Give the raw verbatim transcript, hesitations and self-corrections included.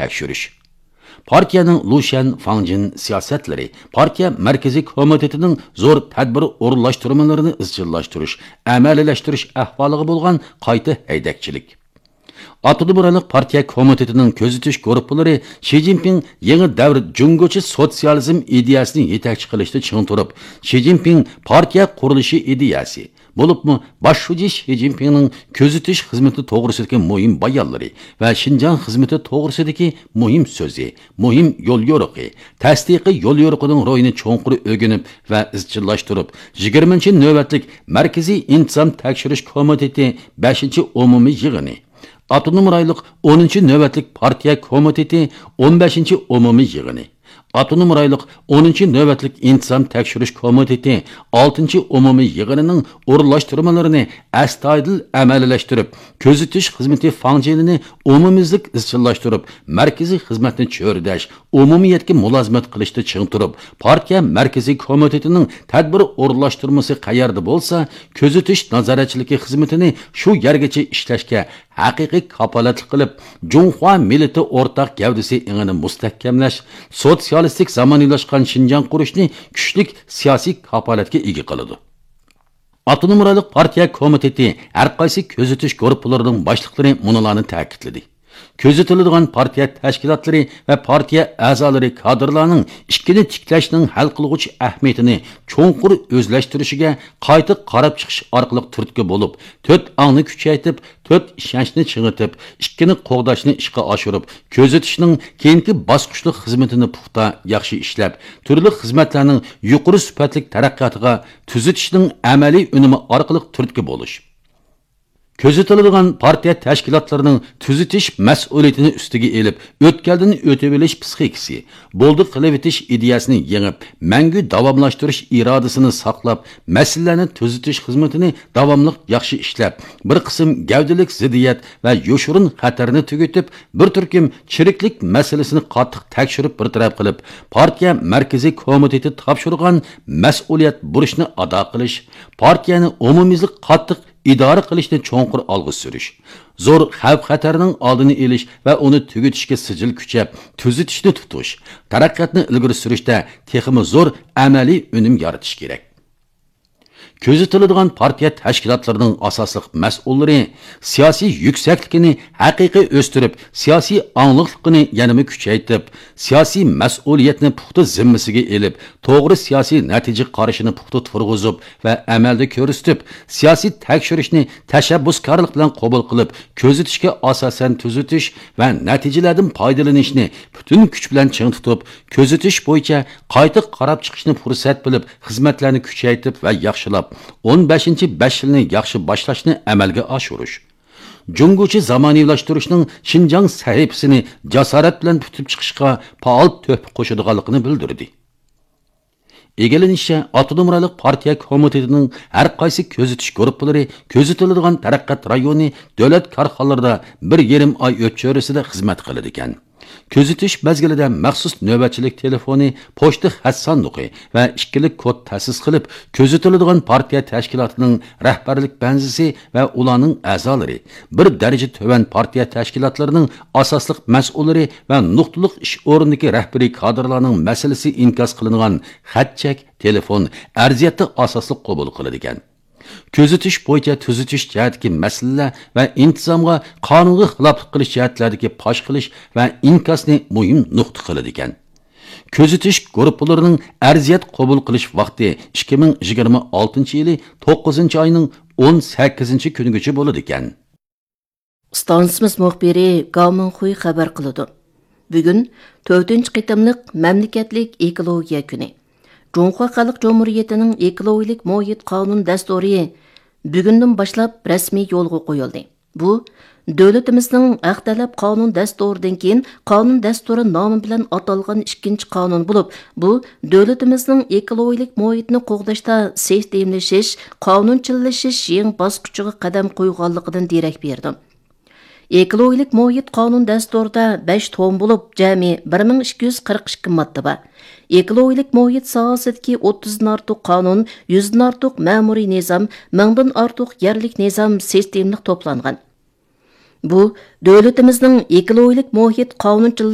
تەكشۈرۈش. پارتىيەنىڭ لۇشيەن فاڭجىن سىياسەتلىرى، پارتىيە مەركىزىي كومىتېتىنىڭ زور تەدبىر ئورۇنلاشتۇرمىلىرىنى ئىزچىللاشتۇرۇش، ئەمەلىيلەشتۈرۈش ئەھۋالىغا بولغان قايتا ھەيدەكچىلىك. ئاپتونوم رايونلۇق پارتىيە كومىتېتىنىڭ كۆزىتىش گۇرۇپپىلىرى شى جىنپىڭ يېڭى دەۋر جۇڭگوچە سوتسىيالىزم ئىدىيەسىنى يېتەكچى قىلىشتا چىڭ تۇرۇپ، شى جىنپىڭ پارتىيە قۇرۇلۇشى ئىدىيەسى، بولۇپمۇ باش شۇجى شى جىنپىڭنىڭ كۆزىتىش خىزمىتى توغرىسىدىكى مۇھىم بايانلىرى ۋە شىنجاڭ خىزمىتى توغرىسىدىكى مۇھىم سۆزى، مۇھىم يوليورۇقى، تەستىقىي يوليورۇقىنىڭ روھىنى چوڭقۇر ئۆگىنىپ ۋە ئىزچىللاشتۇرۇپ، يىگىرمىنچى نۆۋەتلىك مەركىزىي ئىنتىزام تەكشۈرۈش كومىتېتى بەشىنچى ئومۇمىي يىغىنى، ئاپتونوم رايونلۇق ئونىنچى نۆۋەتلىك پارتىيە كومىتېتى ئون بەشىنچى ئومۇمىي يىغىنى، ئاپتونوم رايونلۇق ئونىنچى نۆۋەتلىك ئىنتىزام تەكشۈرۈش كومىتېتى ئالتىنچى ئومۇمىي يىغىنىنىڭ ئورۇنلاشتۇرمىلىرىنى ئەستايىدىل ئەمەلىيلەشتۈرۈپ، كۆزىتىش خىزمىتى فاڭجېنىنى ئومۇميۈزلۈك ئىزچىللاشتۇرۇپ، مەركىزىي خىزمەتنى چۆرىدەش، ئومۇمىيەتكە مۇلازىمەت قىلىشتا چىڭ تۇرۇپ، پارتىيە مەركىزىي كومىتېتىنىڭ تەدبىر ئورۇنلاشتۇرمىسى قەيەردە بولسا، كۆزىتىش نازارەتچىلىكى خىزمىتىنى شۇ يەرگىچە ئىشلەشكە ھەقىقىي كاپالەتلىك قىلىپ، جۇڭخۇا مىللىتى ئورتاق گەۋدىسى ئېڭىنى مۇستەھكەملەش، سوتسىيالىستىك زامانىۋىلاشقان شىنجاڭ قۇرۇشنى كۈچلۈك سىياسىي كاپالەتكە ئىگە قىلىدۇ. ئاپتونوم رايونلۇق پارتىيە كومىتېتى ھەر قايسى كۆزىتىش گۇرۇپپىلىرىنىڭ باشلىقلىرى مۇنۇلارنى تەكىتلىدى. كۆزىتىلىدىغان پارتىيە تەشكىلاتلىرى ۋە پارتىيە ئەزالىرى كادىرلارنىڭ ئىككىنى تىكلەشنىڭ ھەل قىلغۇچ ئەھمىيىتىنى چوڭقۇر ئۆزلەشتۈرۈشىگە قايتا قاراپ چىقىش ئارقىلىق تۈرتكە بولۇپ، تۆت ئاڭنى كۈچەيتىپ، تۆت ئىشەنچنى چىڭىتىپ، ئىككىنى قوغداشنى ئىشقا ئاشۇرۇپ، كۆزىتىشنىڭ كېيىنكى باسقۇچلۇق خىزمىتىنى پۇختا، ياخشى ئىشلەپ، تۈرلۈك خىزمەتلەرنىڭ يۇقىرى سۈپەتلىك تەرەققىياتىغا تۈزىتىشنىڭ ئەمەلىي ئۈنۈمى ئارقىلىق تۈرتكە بولۇش. كۆزىتىلىدىغان پارتىيە تەشكىلاتلىرىنىڭ تۈزىتىش مەسئۇلىيىتىنى ئۈستىگە ئېلىپ، ئۆتكەلدىن ئۆتۈۋېلىش پىسخىكىسى، بولدى قىلىۋېتىش ئىدىيەسىنى يېڭىپ، مەڭگۈ داۋاملاشتۇرۇش ئىرادىسىنى ساقلاپ، مەسىلىلەرنى تۈزىتىش خىزمىتىنى داۋاملىق ياخشى ئىشلەپ، بىر قىسىم گەۋدىلىك زىددىيەت ۋە يوشۇرۇن خەتەرنى تۈگىتىپ، بىر تۈركۈم چىرىكلىك مەسىلىسىنى قاتتىق تەكشۈرۈپ بىر تەرەپ قىلىپ، پارتىيە مەركىزىي كومىتېتى تاپشۇرغان مەسئۇلىيەت بۇرچنى ئادا قىلىش، پارتىيەنى ئومۇميۈزلۈك قاتتىق ئىدارە قىلىشنى چوڭقۇر ئالغا سۈرۈش، زور خەۋپ-خەتەرنىڭ ئالدىنى ئېلىش ۋە ئۇنى تۈگىتىشكە سىجىل كۈچەپ، تۈزىتىشنى تۇتۇش، تەرەققىياتنى ئىلگىرى سۈرۈشتە تېخىمۇ زور ئەمەلىي ئۈنۈم يارىتىش كېرەك. كۆزىتىلىدىغان پارتىيە تەشكىلاتلىرىنىڭ ئاساسلىق مەسئۇللىرى سىياسىي يۈكسەكلىكىنى ھەقىقىي ئۆستۈرۈپ، سىياسىي ئاڭلىقلىقىنى يەنىمۇ كۈچەيتىپ، سىياسىي مەسئۇلىيەتنى پۇختا زىممىسىگە ئېلىپ، توغرا سىياسىي نەتىجە قارىشىنى پۇختا تۇرغۇزۇپ ۋە ئەمەلدە كۆرسىتىپ، سىياسىي تەكشۈرۈشنى تەشەببۇسكارلىق بىلەن قوبۇل قىلىپ، كۆزىتىشكە ئاساسەن تۈزىتىش ۋە نەتىجىلەردىن پايدىلىنىشنى پۈتۈن كۈچ بىلەن چىڭ تۇتۇپ، كۆزىتىش بويىچە قايتا قاراپ چىقىشنى پۇرسەت بىلىپ، خىزمەتلەرنى كۈچەيتىپ ۋە ياخشىلاپ، ئون بەشىنچى بەش يىلنى ياخشى باشلاشنى ئەمەلگە ئاشۇرۇش. جۇڭگوچە زامانىۋىلاشتۇرۇشنىڭ شىنجاڭ سەھىپىسىنى جاسارەت بىلەن پۈتۈپ چىقىشقا پائال تۆھپە قوشىدىغانلىقىنى بىلدۈردى. ئىگىلىنىشىچە، ئاپتونوم رايونلۇق پارتىيە كومىتېتىنىڭ ھەر قايسى كۆزىتىش گۇرۇپپىلىرى كۆزىتىلىدىغان تەرەققىيات رايونى دۆلەت كارخانىلىرىدا بىر يېرىم ئاي ئۆتچۈرىسىدە خىزمەت قىلىدىكەن. كۆزىتىش مەزگىلىدە مەخسۇس نۆۋەتچىلىك تېلېفونى، پوچتا خەت ساندۇقى ۋە ئىككىلىك كود تەسىس قىلىپ، كۆزىتىلىدىغان پارتىيە تەشكىلاتىنىڭ رەھبەرلىك بەنزىسى ۋە ئۇلارنىڭ ئەزالىرى، بىر دەرىجە تۆۋەن پارتىيە تەشكىلاتلىرىنىڭ ئاساسلىق مەسئۇللىرى ۋە نۇقتىلىق ئىش ئورنىدىكى رەھبىرىي كادىرلارنىڭ مەسىلىسى ئىنكاس قىلىنغان خەت-چەك، تېلېفون، ئەرزىيەتتە ئاساسلىق قوبۇل قىلىدىكەن. كۆزىتىش بويىچە تۈزىتىش جەھەتتىكى مەسىلىلەر ۋە ئىنتىزامغا قانۇنغا خىلاپلىق قىلىش جەھەتلەردىكى پاش قىلىش ۋە ئىنكاسنى مۇھىم نۇقتا قىلىدىكەن. كۆزىتىش گۇرۇپپىلىرىنىڭ ئەرزىيەت قوبۇل قىلىش ۋاقتى ئىككى مىڭ يىگىرمە ئالتىنچى يىلى توققۇزىنچى ئاينىڭ ئون سەككىزىنچى كۈنىگىچە بولىدىكەن. ئىستانسىمىز مۇخبىرى گاۋ مىڭخۇي خەۋەر قىلىدۇ. بۈگۈن تۆتىنچى قېتىملىق مەملىكەتلىك ئېكولوگىيە كۈنى. جۇڭخۇا خەلق جۇمھۇرىيىتىنىڭ ئېكولوگىيەلىك مۇھىت قانۇن دەستۇرى بۈگۈندىن باشلاپ رەسمىي يولغا قويۇلدى. بۇ، دۆلىتىمىزنىڭ ھەق تەلەپ قانۇن دەستۇرىدىن كېيىن قانۇن دەستۇرى نامى بىلەن ئاتالغان ئىككىنچى قانۇن بولۇپ، بۇ، دۆلىتىمىزنىڭ ئېكولوگىيەلىك مۇھىتنى قوغداشتا سىستېمىلىشىش، قانۇنچىلىشىش يېڭى باسقۇچىغا قەدەم قويغانلىقىدىن دېرەك بېرىدۇ. ئېكولوگىيەلىك مۇھىت قانۇن دەستۇرىدا بەش توم بولۇپ، جەمئىي بىر مىڭ ئىككى يۈز قىرىق ئىككى ماددا بار. ئېكولوگىيەلىك مۇھىت ساھەسىدىكى ئوتتۇزدىن ئارتۇق قانۇن، يۈزدىن ئارتۇق مەمۇرىي نىزام، مىڭدىن ئارتۇق يەرلىك نىزام سىستېمىلىق توپلانغان. بۇ دۆلىتىمىزنىڭ ئېكولوگىيەلىك مۇھىت قانۇنچىلىقى